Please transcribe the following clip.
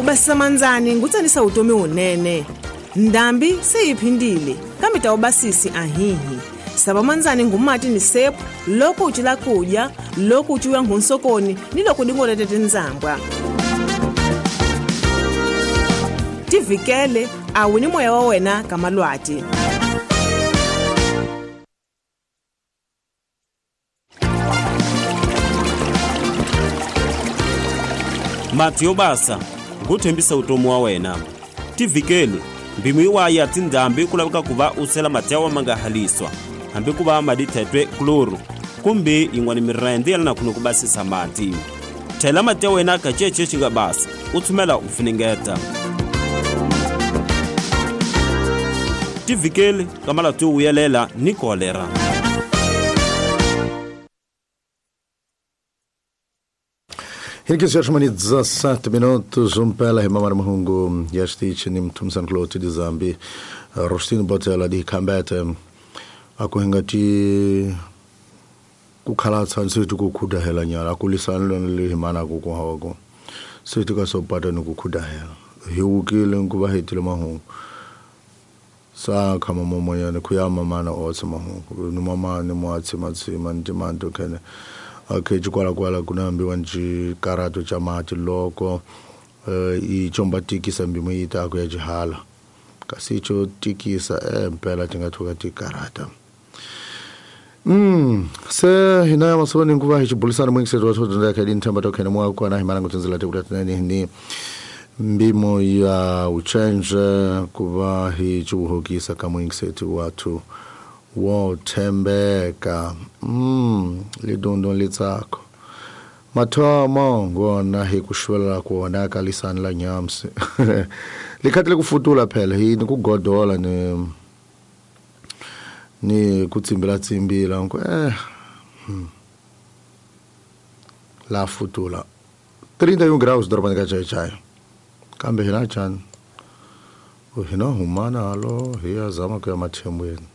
Ku basisa mandzani ngutsanisa vutomi wunene. Ndhambi se yi phindile, kambe ta ubasisi ahihi. Sava mandzani ngumati ni sepu loko u cila kudya, loko u ciwa nghunsokoni ni loko dingolete tindzambwa. Tivikele a wu ni moya wa wena ka malwati. Mati yo basa ngutshembisa utomi wa wena. Tivikele mbimu yiwaya tindhambi ku laveka ku va u sela mati ya wa ma nga haliswa hambi ku va madi thetwe kloro kumbe yin'wana mirende ya lana khune ku basisa mati. Thela mati ya wena ka cece xi nga basa u tshumela u funengeta. Tivikele ka malwati yo vuyelela ni kolera. Hinkisi ya 17 minutos umpela hi mamari mahungu ya xitichi ni mthumsani kuloti dizambi Rostino Botela di khambete a ku hinga ti ku khalatsa ntse ti ku khudahela nyala a ku lisani lona le hi mana ku ku hawa ku se ti ka so pata ni ku khudahela hi wukile ku va hetile mahungu sa khama momoyana ku ya mamana otse mahungu ni mama ni mo atsima ni timanto khene okay chikwalakwala kuna ambiwa ncikarato cha mati loko ichomba tikisa mbimo yitako ya jihala kasi icho tikisa mpela tingathuka tikarata. Se hina ya masoni nguva hi chibulisana mwingi wa thodo ka din thamba to khene mwa kona hi mana ngutsinzela te kutatnani ni mbimo ya uchenje kuva hi chibuhokisa ka mwingi watu wo thembeka. Lidondo litsako mathomo ngona hi kushwela kuona ka lisani la nyamsi likhathi lekufutula phela hi ni kugodola ni kutsimbila tsimbila nku la futula 31 graus dorobani ka chai kambe hina chani hina humana alo hi ya zama ku ya mathembweni.